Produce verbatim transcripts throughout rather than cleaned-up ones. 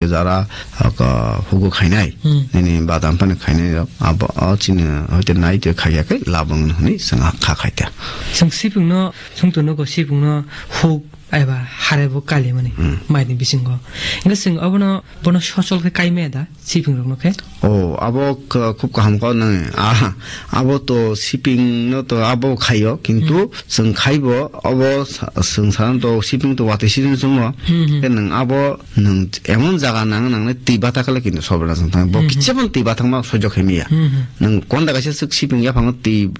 jara, aka, hugo khainai, Hmm. nini badam phano khainai rok, abo, o chini hoite nai twi khaiya khe labung hwnwi chwng kha khaita. Chwng sipingno, chwng to nogo sipingno huk eba harebo kalimani Hmm. maini bisingo. Hingke chwng abono, bono sochol khe kaimaya da, siphing rokno khe? O, abo k-, khub kaham kok nang. Ah, abo to siping no to abo khaio, kintu Hmm. chwng khaibo, abo sa-, chwng saran to siping to watwi season chwngmo. Hmm, hmm. Khe nwng abo nwng emon jaga nang, nang nai twi bata kale kintu sobra chwng thang. Bo Hmm, hmm. kichemon twi bata ma sojok hemiya. Hmm, hmm. Nwng konda kaisa swk siping yaphang twi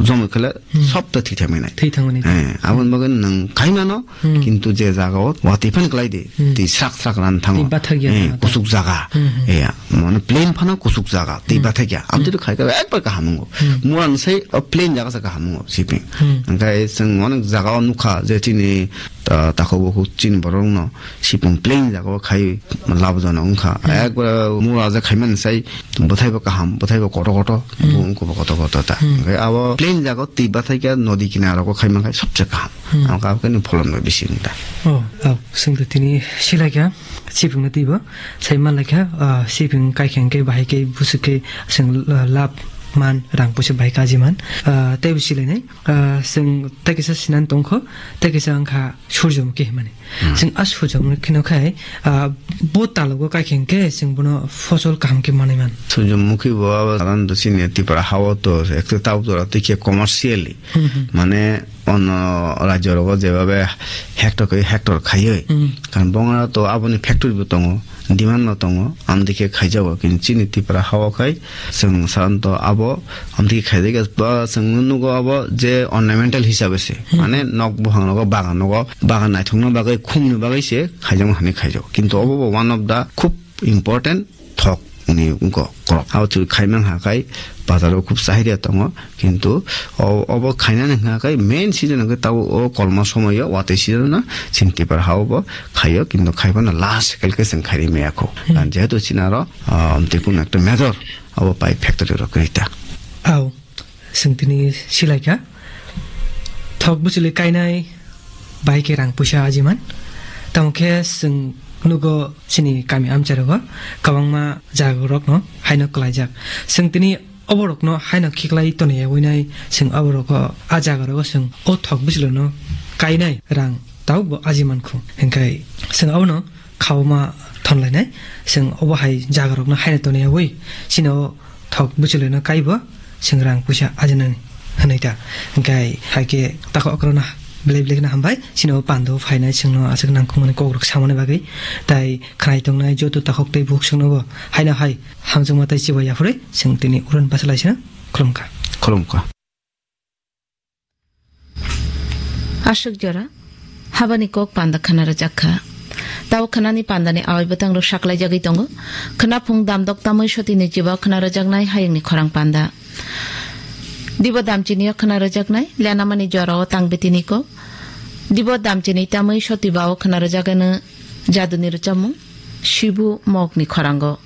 jomoi kale Hmm. sob to thwi thangmani. Thwi thangmani. Eh, aboni bagwi nwng khaimano, Hmm. kintu je jaga o watwi phan klai di, Hmm. twi srak srak ran thango. Twi bathak ya Eh, thango. kusuk jaga. Hmm, hmm. Eh, mane plain phano kusuk jaga, twi Hmm. bathak ya. Am Hmm. twi khai ka ekbar kaham wngo. Hmm. Mura ni sai o plain jaga sa kaham wngo, siping. Hmm. Hingke chwng onek jaga o nukha je chini ta-, takhuk bukhuk chini borok no siping plain jaga o khai lab jana wngkha. Hmm. Ekbar mura je khaimani sai Bwthai bo kaham, bwthai bo kotor kotor, Hmm. bo wngkha bo kotor kotor ta. Hmm. Hingke abo plain jaga twi bathai khe nodi kinaro khe khai mankha sobse kaham. Hmm. Ang kha khe ni pholon bo bisi wngta. Oh, oh, sing to tini silai kha, sipung na twi bo, sai man lai kha, ah, sipung kai khe hingke bahai khe busuk khe sing, ah, lab man, rang puisa bahai kaji man, ah, tei bo silai nai, ah, sing tei kisa sinan tongkho, tei kisa wngkha Surjomukhi himani. Hmm. Chwng a Surjomukhi no khai, ah, bo talogo kai khe hwnkhe chwng bono fosol kaham khe manwi man. Surjomukhi bo abo saran do chini Tripura hao to ekte tabuk jora twi khe commercially. Hmm, hmm. Mane ono rajyo rogo jebabe hector khe hector khaiwi. Hmm. Kan bongora to aboni factory bo tongo, demand no tongo, amdikhe khaijago. Kintu chini Tripura hao khai Chwng saranto abo amtwi khaijak ya, ba chwng nugo abo je ornamental hisabe se. Hmm. Mane nok buphang rogo, bagan rogo, bagan naithokna bagwi, khumni bagwi se khaijakma hinwi khaijago. Kintu obo bo one of the khub important thok ni wngkha korok. Abo chwng khaimang ha khai bazaro khub chahirya tongo. Kintu o-, obo khainani hwnkha khai main season hwnkhe tabuk o kolma somoio watwi season no chini Tripura hao bo khaio, kintu khaiphano last cycle khe chwng khairi maya kho. Hmm. Jehetu chini aro, ah, amtwi kunu ekta major Abo pai factory rok kwrwi ta. Au, chwng tini silai kha. Thok bwchwlwi kainai bai khe rang puisa ajiman. Tamo khe chwng nugo chini kami amchai rogo kwbangma jaga rokno haino kwlaijak. Chwng tini obo rokno haino khiklai toni yaui nai chwng abo rogo a jaga rogo chwng o thok bwchwlwino kainai rang tabuk bo ajiman khu. Hwnkhe chwng abono khauma thon lainai. Chwng obo hai jaga rokno haino toni yaui chini o thok bwchwlwino kaibo chwng rang puisa ajinani hwnwi ta. Hwnkhe hai khe tako okrokno belai belai kheno hambai chini o pando phainai chwngno aswk nangkukmani kokrok samani bagwi. Tai khwnai tongnai joto takhuk tei bukhuk chwngnobo haino hai hamjakma tei chibai yaphurwi chwng tini uron bachalaisano khulumkha. Khulumkha. Aswk jora habani kok panda khna rwjak kha. Tabo khnani pandani awai bwtang rok saklai jagwi tongo. Khna phung damdok tamwi sotini chiba khna rwjaknai hayungni khorang panda. Dibo damchini o khna rwjaknai lenamani jora o tang bitini kok. Dibo damchini tamwi soti ba o khna rwjagano jaduni rwchapmung Sibu mokni khorango.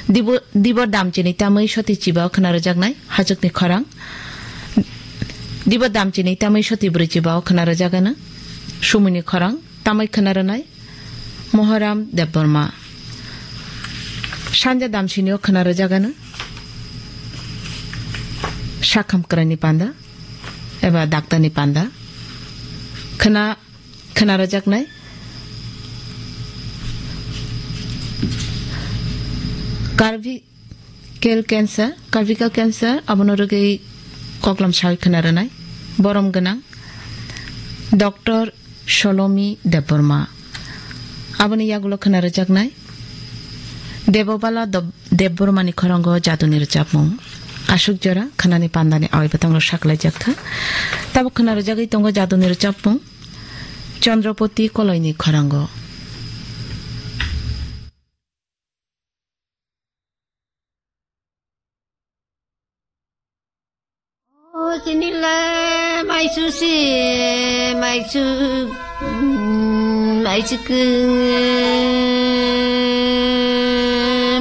Dibo, dibo damchini tamwi soti chiba o khna rwjaknai hachukni khorang. Dibo damchini tamwi soti bwrwi chiba o khna rwjagano. Sumuni khorang tamwi khna rwnai Mohoram Debbarma. Sanja damchini o khna rwjagano Sakham kwraini panda eba daktarni panda. Khna Khna rwjaknai. Cervical cancer, cervical cancer, abono rwgwi koklam sawi khna rwnai. Borom gwnang Doctor Solomi Debbarma. Aboni yagulo khna rwjaknai Debobala Dob-, Debbarmani khorango jaduni rwchapmung. Aswk jora khnani pandani awai bwtangno saklaijak kha. Tabuk khna rwjagwi tongo jaduni rwchapmung. Chandropoti Koloini khorango. O chinila maisu si maisu, mm, maisu kung,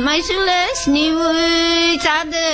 maisu le sini wui chade.